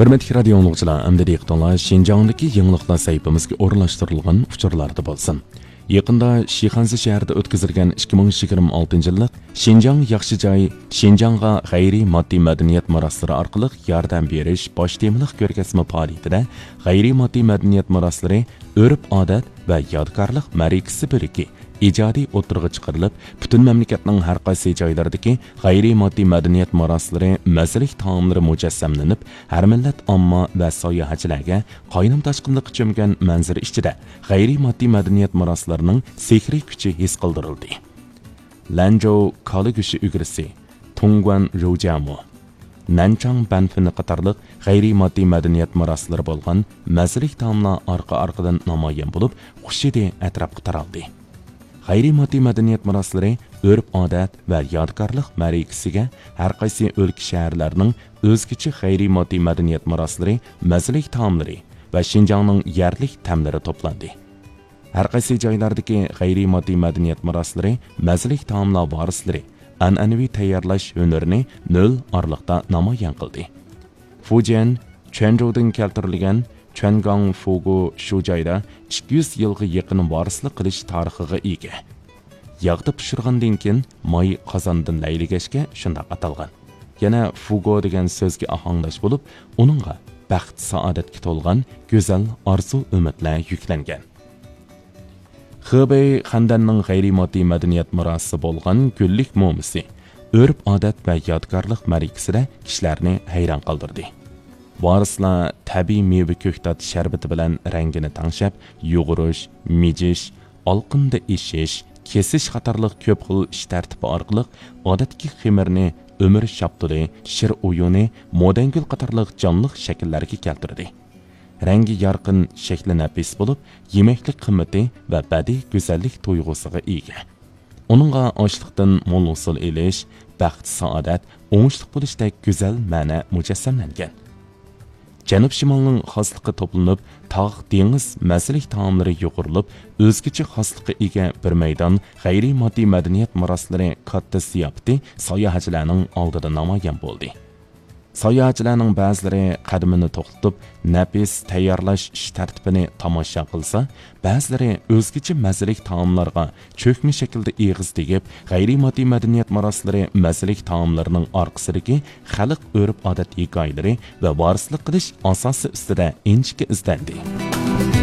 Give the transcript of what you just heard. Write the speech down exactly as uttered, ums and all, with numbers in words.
ھۆرمەتلىك رادىيو ئاڭلىغۇچىلار، ئەمدى دىققىتىڭلار شىنجاڭدىكى يېڭىلىقلار سەھىپىمىزگە ئورۇنلاشتۇرۇلغان ئۇچۇرلاردا بولسۇن. يېقىندا شىخەنزە شەھىرىدە ئۆتكۈزۈلگەن ئىككى مىڭ يىگىرمە ئالتىنچى يىللىق شىنجاڭ ياخشى جاي، شىنجاڭغا غەيرىي ماددىي مەدەنىيەت مىراسلىرى ئارقىلىق ياردەم بېرىش باش تېمىلىق كۆرگەزمە پائالىيىتىدە غەيرىي ماددىي مەدەنىيەت مىراسلىرى، ئۆرپ-ئادەت ۋە يادىكارلىق مەرىكىسى بۆلىكى ئىجادىي ئوتتۇرىغا چىقىرىلىپ، پۈتۈن مەملىكەتنىڭ ھەر قايسى جايلىرىدىكى غەيرىي ماددىي مەدەنىيەت مىراسلىرى، مەززىلىك تائاملىرى مۇجەسسەملىنىپ، ھەر مىللەت ئامما ۋە ساياھەتچىلەرگە قاينام تاشقىنلىققا چۆمگەن مەنزىرە ئىچىدە غەيرىي ماددىي مەدەنىيەت مىراسلىرىنىڭ سېھرىي كۈچى ھېس قىلدۇرۇلدى. لەنجوۋ كالا گۆشى ئۈگرىسى، تۇڭگۇەن روجيامۇ، نەنچاڭ بەنفېنى قاتارلىق غەيرىي ماددىي مەدەنىيەت مىراسلىرى بولغان مەززىلىك تائاملار ئارقا-ئارقىدىن نامايان بولۇپ، خۇش ھىدى ئەتراپقا تارالدى. غەيرىي ماددىي مەدەنىيەت مىراسلىرى ئۆرپ-ئادەت ۋە يادىكارلىق مەرىكىسىگە ھەر قايسى ئۆلكە، شەھەرلەرنىڭ ئۆزگىچە غەيرىي ماددىي مەدەنىيەت مىراسلىرى، مەززىلىك تائاملىرى ۋە شىنجاڭنىڭ يەرلىك تەملىرى توپلاندى. ھەر قايسى جايلاردىكى غەيرىي ماددىي مەدەنىيەت مىراسلىرى، مەززىلىك تائاملار ۋارىسلىرى ئەنئەنىۋى تەييارلاش ھۈنىرىنى نۆل ئارىلىقتا نامايان قىلدى. فۇجيەن، چۈەنجۇدىن كەلتۈرۈلگەن چۈەنگاڭ فۇگۇ شۇ جايدا ئىككى يۈز يىلغا يېقىن ۋارىسلىق قىلىش تارىخىغا ئىگە. ياغدا پىشۇرغاندىن كېيىن ماي قازاندىن لەيلىگەچكە شۇنداق ئاتالغان. يەنە فۇگو دېگەن سۆزگە ئاھاڭداش بولۇپ، ئۇنىڭغا بەخت-سائادەتكە تولغان گۈزەل ئارزۇ-ئۈمىدلەر يۈكلەنگەن. خېبېي خەندەننىڭ غەيرىي ماددىي مەدەنىيەت مىراسى بولغان گۈللۈك مومىسى، ئۆرپ-ئادەت ۋە يادىكارلىق مەرىكىسىدە كىشىلەرنى ھەيران قالدۇردى. ۋارىسلار تەبىئىي مېۋە كۆكتات شەربىتى بىلەن رەڭگىنى تەڭشەپ، يۇغۇرۇش، مىجىش، ئالقىندا ئېشىش، كېسىش قاتارلىق كۆپ خىل ئىش تەرتىپى ئارقىلىق ئادەتتىكى خېمىرنى ئۆمۈر شاپتۇلى، شىر ئويۇنى، مودەنگۈل قاتارلىق جانلىق شەكىللەرگە كەلتۈردى. رەڭگى يارقىن، شەكلى نەپىس بولۇپ، يېمەكلىك قىممىتى ۋە بەدىئىي گۈزەللىك تۇيغۇسىغا ئىگە. ئۇنىڭغا ئاشلىقتىن مول ھوسۇل ئېلىش، بەخت-سائادەت، ئوڭۇشلۇق بولۇشتەك گۈزەل مەنە مۇجەسسەملەنگەن. جەنۇب-شىمالنىڭ خاسلىقى توپلىنىپ، تاغ، دېڭىز مەززىلىك تائاملىرى يۇغۇرۇلۇپ، ئۆزگىچە خاسلىققا ئىگە بىر مەيدان غەيرىي ماددىي مەدەنىيەت مىراسلىرى كاتتا زىياپىتى ساياھەتچىلەرنىڭ ئالدىدا نامايان بولدى. ساياھەتچىلەرنىڭ بەزىلىرى قەدىمىنى توختىتىپ، نەپىس تەييارلاش ئىش تەرتىپىنى تاماشا قىلسا، بەزىلىرى ئۆزگىچە مەززىلىك تائاملارغا چۆكمە شەكىلدە ئېغىز تېگىپ، غەيرىي ماددىي مەدەنىيەت مىراسلىرى، مەززىلىك تائاملىرىنىڭ ئارقىسىدىكى خەلق ئۆرپ-ئادەت ھېكايىلىرى ۋە ۋارىسلىق قىلىش ئاساسى ئۈستىدە ئىنچىكە ئىزدەندى.